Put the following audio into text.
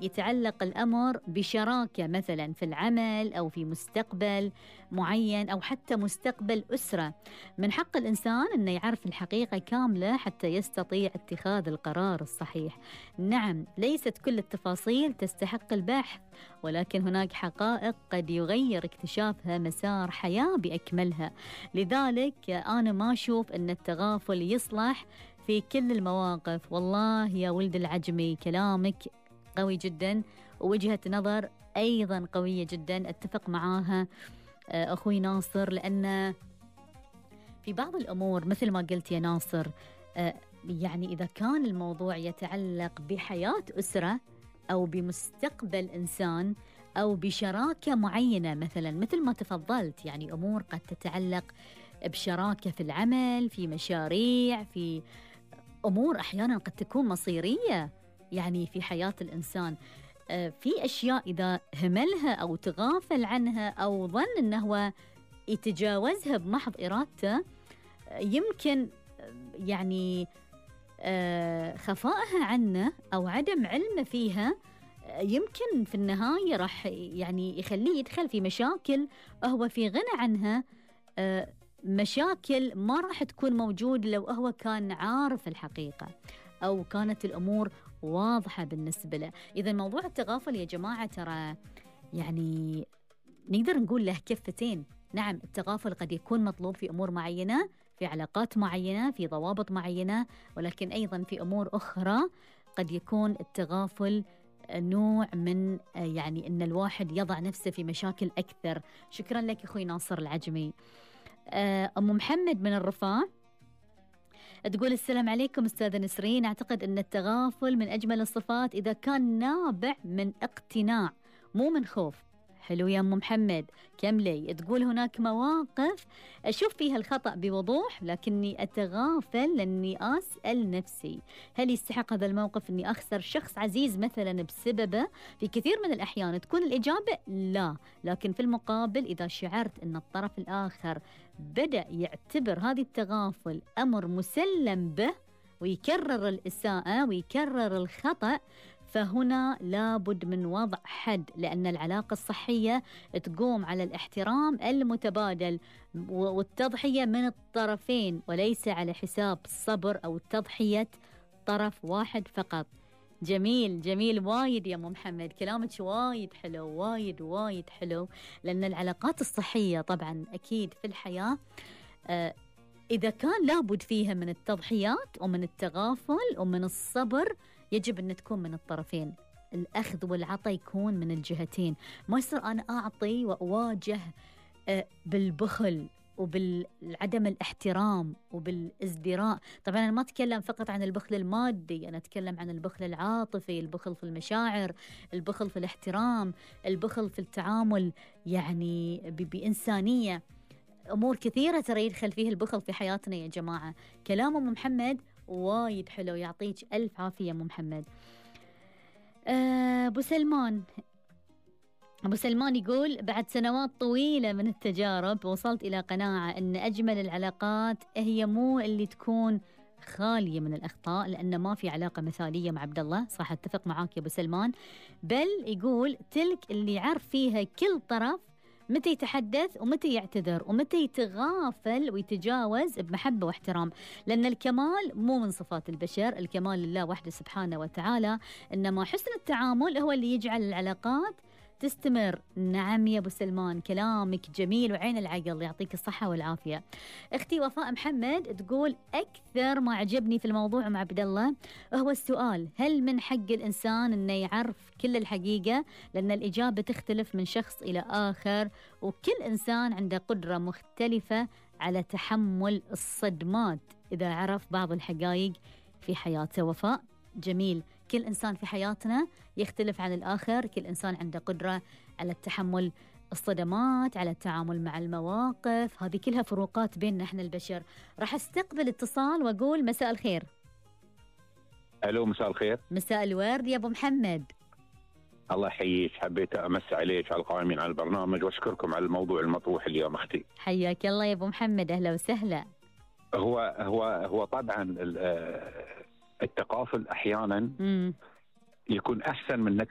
يتعلق الأمر بشراكة مثلا في العمل أو في مستقبل معين أو حتى مستقبل أسرة، من حق الإنسان أنه يعرف الحقيقة كاملة حتى يستطيع اتخاذ القرار الصحيح. نعم، ليست كل التفاصيل تستحق البحث، ولكن هناك حقائق قد يغير اكتشافها مسار حياة بأكملها. لذلك أنا ما أشوف أن التغافل يصلح في كل المواقف. والله يا ولد العجمي كلامك قوي جدا، ووجهة نظر أيضا قوية جدا أتفق معاها أخوي ناصر، لأن في بعض الأمور مثل ما قلت يا ناصر يعني إذا كان الموضوع يتعلق بحياة أسرة أو بمستقبل إنسان أو بشراكة معينة مثلا مثل ما تفضلت، يعني أمور قد تتعلق بشراكة في العمل، في مشاريع، في أمور أحيانا قد تكون مصيرية يعني في حياة الإنسان. في أشياء إذا هملها أو تغافل عنها أو ظن أنه هو يتجاوزها بمحض إرادته، يمكن يعني خفائها عنه أو عدم علمه فيها يمكن في النهاية راح يعني يخليه يدخل في مشاكل هو في غنى عنها، مشاكل ما راح تكون موجود لو هو كان عارف الحقيقة أو كانت الأمور واضحة بالنسبة له. إذا موضوع التغافل يا جماعة ترى يعني نقدر نقول له كفتين. نعم، التغافل قد يكون مطلوب في أمور معينة، في علاقات معينة، في ضوابط معينة، ولكن أيضا في أمور أخرى قد يكون التغافل نوع من يعني أن الواحد يضع نفسه في مشاكل أكثر. شكرا لك أخوي ناصر العجمي. أم محمد من الرفاع تقول السلام عليكم أستاذة نسرين، أعتقد أن التغافل من أجمل الصفات إذا كان نابع من اقتناع مو من خوف. حلو يا أم محمد، كملي. تقول هناك مواقف أشوف فيها الخطأ بوضوح لكني أتغافل لأني أسأل نفسي هل يستحق هذا الموقف أني أخسر شخص عزيز مثلا بسببه؟ في كثير من الأحيان تكون الإجابة لا، لكن في المقابل إذا شعرت أن الطرف الآخر بدأ يعتبر هذه التغافل أمر مسلم به ويكرر الإساءة ويكرر الخطأ، فهنا لابد من وضع حد، لأن العلاقة الصحية تقوم على الاحترام المتبادل والتضحية من الطرفين وليس على حساب الصبر أو تضحية طرف واحد فقط. جميل جميل وايد يا أم محمد، كلامك وايد حلو وايد وايد حلو، لأن العلاقات الصحية طبعا أكيد في الحياة إذا كان لابد فيها من التضحيات ومن التغافل ومن الصبر يجب أن تكون من الطرفين، الأخذ والعطاء يكون من الجهتين، ما يصير أنا أعطي وأواجه بالبخل وبالعدم الاحترام وبالازدراء. طبعا أنا ما أتكلم فقط عن البخل المادي، أنا أتكلم عن البخل العاطفي، البخل في المشاعر، البخل في الاحترام، البخل في التعامل يعني بإنسانية. أمور كثيرة ترى يدخل فيه البخل في حياتنا يا جماعة. كلام أم محمد وايد حلو، يعطيك ألف عافية أم محمد. أبو سلمان يقول بعد سنوات طويلة من التجارب وصلت إلى قناعة أن أجمل العلاقات هي مو اللي تكون خالية من الأخطاء، لأن ما في علاقة مثالية مع عبد الله. صح، اتفق معاك يا أبو سلمان. بل يقول تلك اللي يعرف فيها كل طرف متى يتحدث ومتى يعتذر ومتى يتغافل ويتجاوز بمحبة واحترام، لأن الكمال مو من صفات البشر، الكمال لله وحده سبحانه وتعالى، إنما حسن التعامل هو اللي يجعل العلاقات تستمر. نعم يا أبو سلمان، كلامك جميل وعين العقل، يعطيك الصحة والعافية. أختي وفاء محمد تقول أكثر ما عجبني في الموضوع مع عبد الله هو السؤال هل من حق الإنسان أنه يعرف كل الحقيقة؟ لأن الإجابة تختلف من شخص إلى آخر، وكل إنسان عنده قدرة مختلفة على تحمل الصدمات إذا عرف بعض الحقائق في حياته. وفاء جميل، كل إنسان في حياتنا يختلف عن الآخر، كل إنسان عنده قدرة على التحمل الصدمات، على التعامل مع المواقف، هذه كلها فروقات بيننا احنا البشر. راح استقبل اتصال واقول مساء الخير. الو مساء الخير. مساء الورد يا ابو محمد. الله يحييك، حبيت امس عليك على القائمين على البرنامج واشكركم على الموضوع المطروح اليوم اختي. حياك الله يا ابو محمد، اهلا وسهلا. هو طبعا التقافل احيانا يكون احسن من انك